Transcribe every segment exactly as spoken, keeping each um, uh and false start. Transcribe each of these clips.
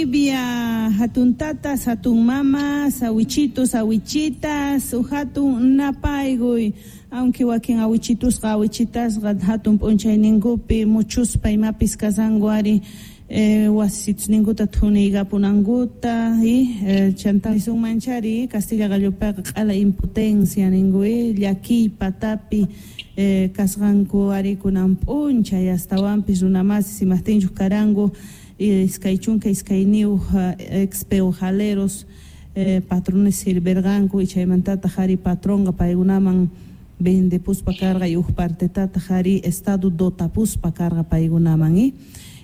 Bolivia, hatun tatas, hatun mamas, awichitos, awichitas, hatun napaykuy, aunque wakin awichitusqa awichitasqa hatun p'unchayninkupi muchuspa imapis kashanku ari eh, wasisninkuta thuniykapunankuta y eh, chanta nisunmanchari Castilla qallupiqa q'ala impotencia ninku llakiy patapi eh, kasqanku ari kunan p'unchay astawanpis runamasis imaqtinchus karanku iskay chunka iskayniyuq ex peojaleros eh, patrones sirverqanku y chaymantataq ari patronqa paykunaman vendepuspa karqa y huk partetataq ari estado dotapuspa karqa paykunaman y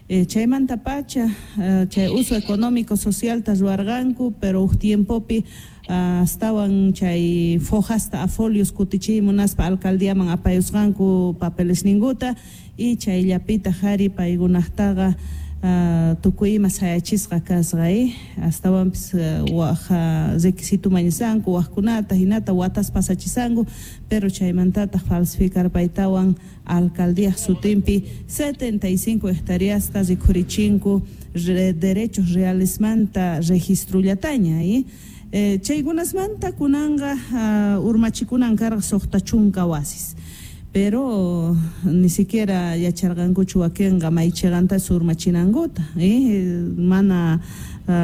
eh, chaymanta pacha eh, chay uso económico socialta ruwarqanku, pero huk tiempopi uh, astawan chay fojasta a folios kutichiy munaspa alcaldiaman apayusqanku papelesninkuta y chayllapitaq ari paykunaqtaqa Uh, tukuy ima sayachisqa kasqa eh? Astawanpis uh, waj uh, requisito mañasanku wajkunata hinata watas pasachisanku, pero chaymantataq falsificarpaytawan alcaldía sutinpi setenta y cinco hectáreasta rikhurichinku re, derechos realesmanta registrullataña eh? Eh, chaykunasmanta kunanqa uh, urmachikunan karqa suqta chunka wasis, pero ni siquiera yacharqankuchu wakinqa may chiqantas urmachinankuta eh? Mana uh,